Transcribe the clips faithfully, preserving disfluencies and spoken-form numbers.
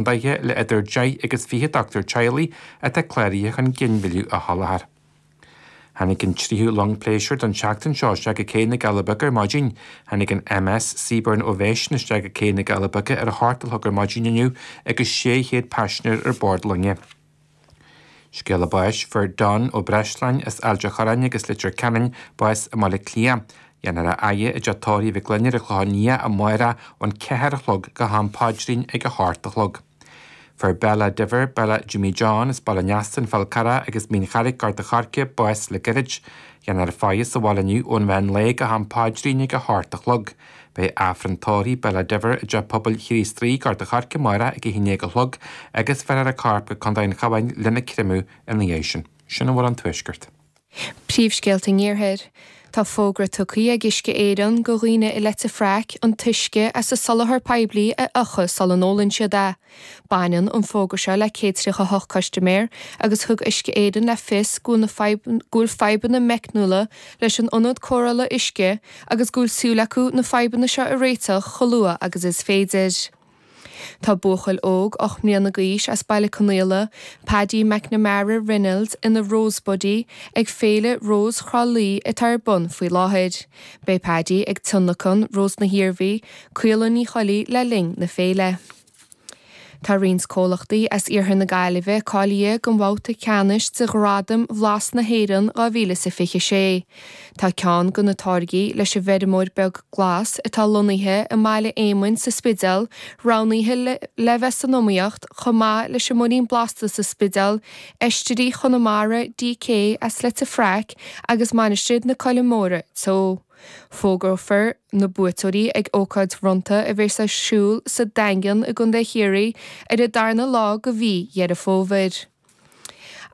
Contaetha le idir deich agus fiche dochtúir teaghlaigh atá cláraithe chun ginmhilleadh a sholáthar. Tháinig an tríú long pléisiúir don tseachtain seo isteach go cé na Gaillimhe Bige ar maidin. Tháinig an MS Seabourn Ovation isteach go cé na Gaillimhe Bige ar a hocht a chlog ar maidin inniu agus sé chéad paisinéir ar bord loinge. Scéala báis fuair Don Ó Breisleáin as Ailt an Chorráin agus Leitir Ceanainn bás i mBaile Átha Cliath. Dhéanfar a fhaire i dteach tórraimh Mhic Gloinn ar an Chlochán Liath amárach ón ceathair a chlog go ham paidrín ag a hocht a chlog. Fuair Bella Diver, Bella Jimmy John as Baile Neastain Fál Carrach agus Mín Charraig Gort an Choirce bás le gairid. Dhéanfar a faire sa bhaile inniu ón mheán lae go ham paidrín ag a hocht a chlog. Beidh Aifreann tórraimh Bella Diver i dTeach Pobail Chríost Rí Gort an Choirce amárach ag a haon déag a chlog agus bhéarfar a corp go Contae an Chabháin lena chreimeadh ina dhiaidh sin. Sin a bhfuil ón Tuaisceart. Príomhscéalta an Iarthair. Tá fógra tugtha ag Uisce Éireann do dhaoine i Leitir Fraic an t-uisce as an soláthar poiblí a fhiuchadh sula n-ólann siad é. Baineann an fógra seo le céad tríocha hocht custaiméir agus thug Uisce Éireann le fios go bhfuil fadhbanna meicniúla leis an ionad cóireála uisce agus go bhfuil súil acu na fadhbanna seo a réiteach chomh luath agus is féidir. Tá buachaill óg ocht mbliana d'aois as Baile Conaola, Paddy McNamara Reynolds ina Rose Buddy ag féile Rós Thrá Lí atá ar bun faoi láthair. Beidh Paddy ag tionlacan Rós na hIarmhí, Caola Ní Choilí le linn na féile. Tá roinnt comhlachtaí as iarthar na Gaillimhe cáilithe don bhabhta ceannais de Ghradaim Bhlas na hÉireann dhá mhíle is a fiche sé. Tá ceann de na táirgí leis an bhfeirmeoir beag glas atá lonnaithe i mBaile Éamainn sa Spidéal roghnaithe le, le bheith san iomaíocht chomh maith leis an muirín blasta sa Spidéal, Oistrí Chonamara DK as Leitir Fraic agus Mainistir na Coille Móire Teo. Fógrófar na buaiteoirí ag ócáid bhronnta a bheas ar siúl sa Daingean i gContae Chiarraí ar an darna lá de mhí Dheireadh Fómhair.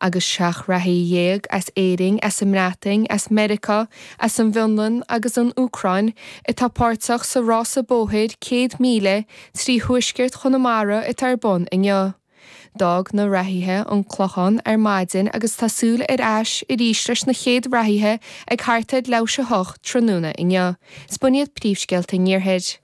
Agus seacht reathaí dhéag as Éirinn, as an mBreatain, as Meiriceá, as an bhFionlainn agus an Úcráin atá páirteach sa rása bóthair céad míle trí thuaisceart Chonamara atá ar bun inniu. D'fhág na reathaithe an Clochán ar maidin agus tá súil ar ais arís leis na chéad reathaithe ag thart ar leathuair tar éis a hocht tráthnóna inniu. Is b'in iad príomhscéalta an Iarthair.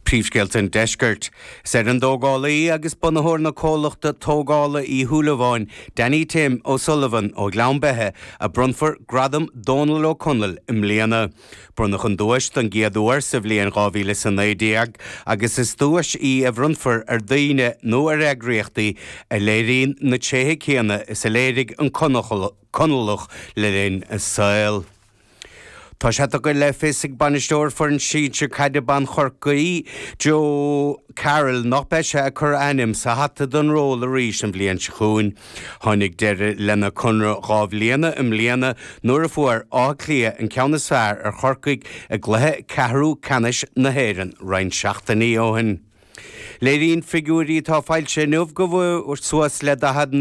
Príomhscéalta an Deiscirt. Is ar an dtógálaí agus bunaitheoir na comhlachta tógála Uí Shúilleabháin, Danny Tim O'Sullivan ó Ghleann Beithe, a bronnfar Gradam Dónal Ó Conaill i mbliana. Bronnadh an duais don gcéad uair sa bhliain dhá mhíle is a naoi déag agus is duais í a bhronnfar ar dhaoine nó ar eagraíochtaí a léiríonn na tréithe céanna is a léirigh an Conallach le linn a saoil. Tá sé tugtha le fios ag bainisteoir foireann sinsir caide ban Chorcaí, Joe Carroll, nach mbeidh sé ag cur a ainm sa hata don ról arís an bhliain seo chugainn. Tháinig deireadh lena conradh dhá bhliana i mbliana nuair a fuair Áth Cliath an ceann is fearr ar Chorcaigh i gcluiche ceathrú ceannais na hÉireann roinnt seachtainí ó shin. Léiríonn figiúirí atá foilsithe inniu go bhfuair suas le daichead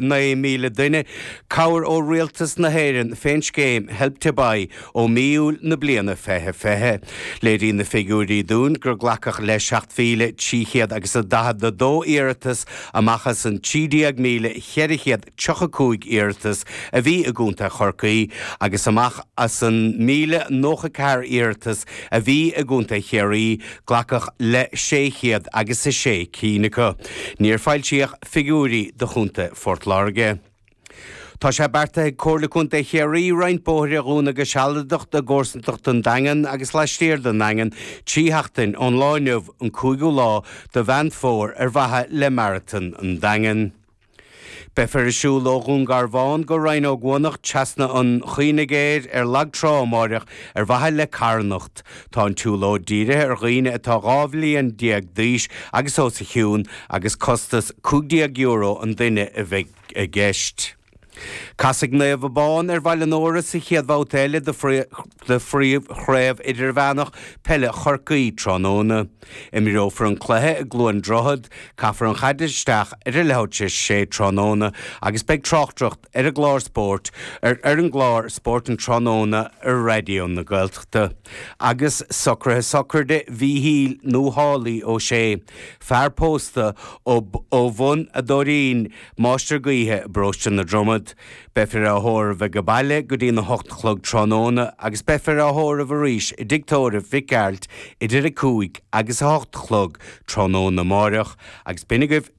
naoi míle duine cabhair ó Rialtas na hÉireann fén scéim Help to Buy ó mí Iúil na bliana fiche fiche. Léiríonn na figiúirí dúinn gur glacadh le seacht mhíle trí chéad agus a daichead a dó iarratas amach as an trí déag míle cheithre chéad tríocha cúig iarratas a bhí i gContae Chorcaí agus amach as an míle nócha ceathair iarratas a bhí i gContae Chiarraí, glacadh le sé chéad agus a sé cinn acu. Níor foilsíodh figiúirí do Chontae Phort Láirge. Tá sé beartaithe ag Comhairle Contae Chiarraí roinnt bóithre a dhúnadh go sealadach i gcomharsantacht an Daingean agus laistiar den Daingean trí sheachtain ón lá inniu, an cúigiú lá de Mheán Fómhair ar mhaithe le Maratón an Daingin. Beifear ag siúl ó Dhún Garbhán go Rinn Ó gCuanach trasna an Chaonaigh Ghéir ar Lag Trá amáireach ar mhaithe le carthanacht. Tá an tsiúlóid dírithe ar dhaoine atá dhá bhliain déag d'aois agus os a chionn agus costas cúig déag euro an duine a bheidh i gceist. Casfaidh Naomh Abán ar Bhaile an Óra sa chéad bhabhta eile de Phríomh-Chraobh Idirmheánach Peile Chorcaí tráthnóna. Imreofar an cluiche i gCluain Droichead, caithfear an chaid isteach ar a leathuair tar éis a sé tráthnóna agus beidh tráchtaireacht ar an gclár spóirt ar ar an gclár Spórt an Tráthnóna ar Raidió na Gaeltachta. Agus socruithe sochraide Mhíchíl nó Shálaí Ó Sé, fear pósta ó ó Bhun a' Dóirín, máistir gaoithe i bparóiste na Dromad. fad. Beifear á thórramh ag baile go dtí a hocht a chlog tráthnóna agus beifear á thórramh arís i dtigh tórraimh Mhic Gearailt idir a cúig agus a hocht a chlog tráthnóna amáireach agus b'in agaibh